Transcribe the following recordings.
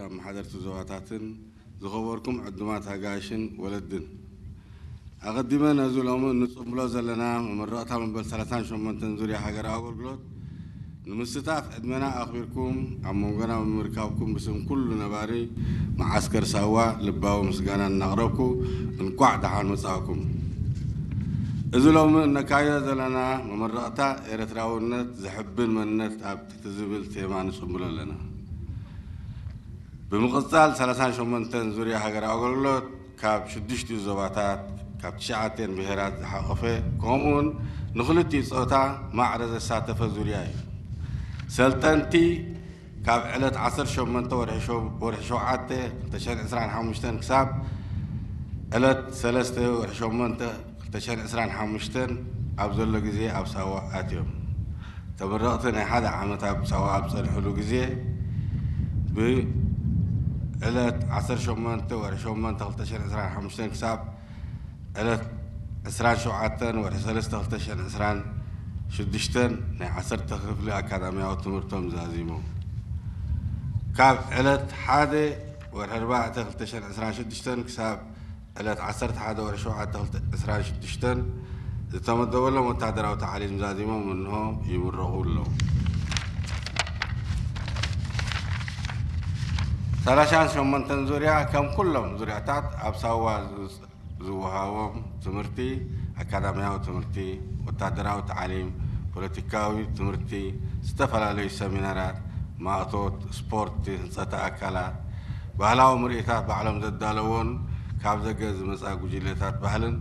ኣመሓደርቲ ዞባታትን ዝኸበርኩም ዕዱማት ኣጋይሽን ወለድን፣ ኣቐዲመ ነዚ ሎሚ እንጽንብሎ ዘለና መመረቕታ መበል ሰላሳን ሸሞንተን ዙርያ ሃገራዊ ኣገልግሎት ንምስታፍ ዕድመና ኣኽቢርኩም ኣብ መንጎና ብምርካብኩም ብስም ኩሉ ነባሪ መዓስከር ሳዋ ልባዊ ምስጋና እናቕረብኩ፣ እንቋዕ ደሓን መጻእኩም። እዚ ሎሚ እነካይዶ ዘለና መመረቕታ ኤርትራውነት ዘሕብን መንነት ኣብ ትዝብል ቴማ ንጽንብሎ ኣለና። ብምቕጻል ሰላሳን ሸሞንተን ዙርያ ሃገራዊ ኣገልግሎት ካብ ሽዱሽቲኡ ዞባታት፣ ካብ ትሽዓተን ብሄራት ዝሓቖፈ፣ ከምኡውን ንኽልቲኡ ጾታ ማዕረ ዘሳተፈ ዙርያ እዩ። ሰልጠንቲ ካብ ዕለት ዓሰርተ ሸሞንተ ወርሒ ሸው-፣ ወርሒ ሸውዓተ ክልተ ሽሕን ዕስራን ሓሙሽተን ክሳብ ዕለት ሰለስተ ወርሒ ሸሞንተ ክልተ ሽሕን ዕስራን ሓሙሽተን ኣብ ዘሎ ግዜ ኣብ ሳዋ ኣትዮም። ተመረቕቲ ናይ ሓደ ዓመት ኣብ ሳዋ ኣብ ጸንሕሉ ግዜ፣ ብዕለት ዓሰርተ ሸሞንተ ወርሒ ሸሞንተ ክልተ ሽሕን ዕስራን ሓሙሽተን ክሳብ ዕለት ዕስራን ሸውዓተን ወርሒ ሰለስተ ክልተ ሽሕን ዕስራን ሽዱሽተን ናይ ዓሰርተ ክፍሊ ኣካዳሚያዊ ትምህርቶም ዛዚሞም። ካብ ዕለት ሓደ ወርሒ ኣርባዕተ ክልተ ሽሕን ዕስራን ሽዱሽተን ክሳብ ዕለት ዓሰርተ ሓደ ወርሒ ሸውዓተ ክልተ ሽሕን ዕስራን ሽዱሽተን ዝተመደበሎም ወታደራዊ ታዕሊም ዛዚሞም እንሆ ይምረቑ ኣለዉ። ሰላሳን ሸሞንተን ዙርያ ከም ኩሎም ዙርያታት ኣብ ሳዋ ዝወሃቦም ትምህርቲ፣ ኣካዳሚያዊ ትምህርቲ፣ ወታደራዊ ታዕሊም፣ ፖለቲካዊ ትምህርቲ፣ ዝተፈላለዩ ሰሚናራት፣ ማእቶት፣ ስፖርት፣ ህንጸት ኣካላት፣ ባህላዊ ምርኢታት ባዕሎም ዘዳለዎን ካብ ደገ ዝመጻ ጉጅለታት ባህልን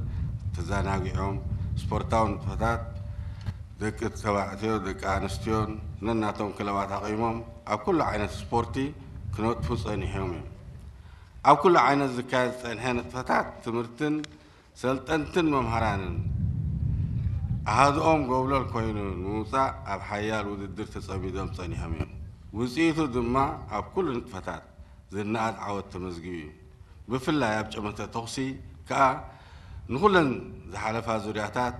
ተዘናጊዖም፣ ስፖርታዊ ንጥፈታት ደቂ ተባዕትዮ፣ ደቂ ኣንስትዮን ነናቶም ክለባት ኣቒሞም ኣብ ኩሉ ዓይነት ስፖርቲ ክነጥፉ ጸኒሖም እዮም። ኣብ ኩሉ ዓይነት ዝካየድ ዝጸንሐ ንጥፈታት ትምህርትን ሰልጠንትን መምሃራንን ኣሃዱኦም ጎብለል ኮይኑ ንምውጻእ ኣብ ሓያል ውድድር ተጸሚዶም ጸኒሖም እዮም። ውጽኢቱ ድማ ኣብ ኩሉ ንጥፈታት ዝነኣድ ዓወት ተመዝጊቡ እዩ። ብፍላይ ኣብ ጨመተ ተኹሲ ከኣ ንኹለን ዝሓለፋ ዙርያታት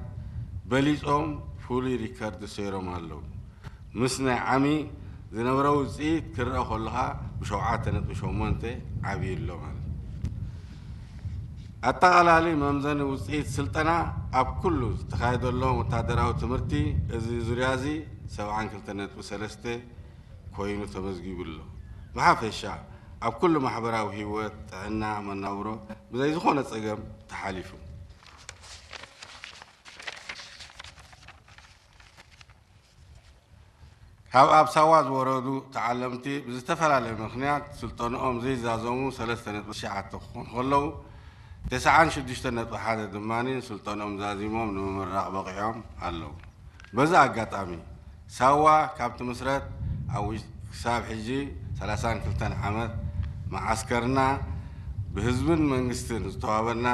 በሊጾም ፍሉይ ሪከርድ ሰይሮም ኣለዉ። ምስ ናይ ዓሚ ዝነበረ ውጽኢት ክረኣ ከሎ ከኣ ብሸውዓተ ነጥቢ ሸሞንተ ዓብዩ ኣሎ ማለት እዩ። ኣጠቓላሊ መምዘኒ ውጽኢት ስልጠና ኣብ ኩሉ ዝተኻየደሎም ወታደራዊ ትምህርቲ እዚ ዙርያ እዚ ሰብዓን ክልተ ነጥቢ ሰለስተ ኮይኑ ተመዝጊቡ ኣሎ። ብሓፈሻ ኣብ ኩሉ ማሕበራዊ ህይወት፣ ጥዕና፣ መናብሮ ብዘይ ዝኾነ ጸገም ተሓሊፉ። ካብ ኣብ ሳዋ ዝወረዱ ተዓለምቲ ብዝተፈላለየ ምኽንያት ስልጠንኦም ዘይዛዘሙ ሰለስተ ነጥቢ ትሽዓተ ክኾኑ ከለዉ፣ ተስዓን ሽዱሽተ ነጥቢ ሓደ ድማ ስልጠንኦም ዛዚሞም ንምምራቕ በቒዖም ኣለዉ። በዚ ኣጋጣሚ፣ ሳዋ ካብ ትምስረት ኣብ ውሽ-፣ ክሳብ ሕጂ ሰላሳን ክልተን ዓመት መዓስከርና ብህዝብን መንግስትን ዝተዋበና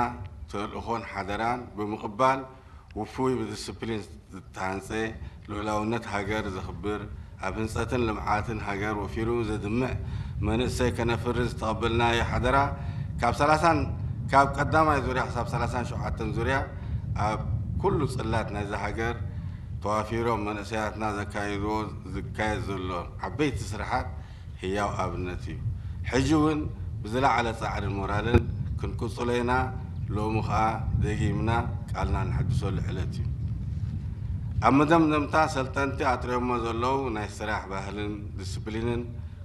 ተልእኾን ሓደራን ብምቕባል፣ ውፉይ ብዲስፕሊን ዝተሃንጸ፣ ልኡላውነት ሃገር ዘኽብር፣ ኣብ ህንጸትን ልምዓትን ሃገር ወፊሩ ዘድምዕ መንእሰይ ከነፍሪ ዝተቐበልናዮ ሓደራ፣ ካብ ሰላሳን፣ ካብ ቀዳማይ ዙርያ ክሳብ ሰላሳን ሸውዓተን ዙርያ ኣብ ኩሉ ጽላት ናይዛ ሃገር ተዋፊሮም መንእሰያትና ዘካይድዎ ዝካየድ ዘሎ ዓበይቲ ስራሓት ህያው ኣብነት እዩ። ሕጂ እውን ብዝለዓለ ጻዕርን ሞራልን ክንቅጽሎ ኢና። ሎሚ ኸኣ ደጊምና ቃልና ንሕድሰሉ ዕለት እዩ። ኣብ መደምደምታ፣ ሰልጠንቲ ኣጥርዮሞ ዘለዉ ናይ ስራሕ ባህልን ዲስፕሊንን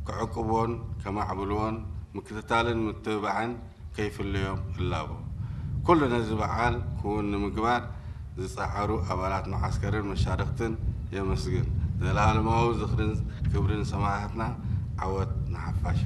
ክዕቅብዎን ከማዕብልዎን ምክትታልን ምትብባዕን ከይፍለዮም እላቦ። ኩሉ ነዚ በዓል ክውን ንምግባር ዝጸዓሩ ኣባላት መዓስከርን መሻርኽትን የመስግን። ዘለኣለማዊ ዝኽርን ክብርን ሰማእታትና። ዓወት ንሓፋሽ።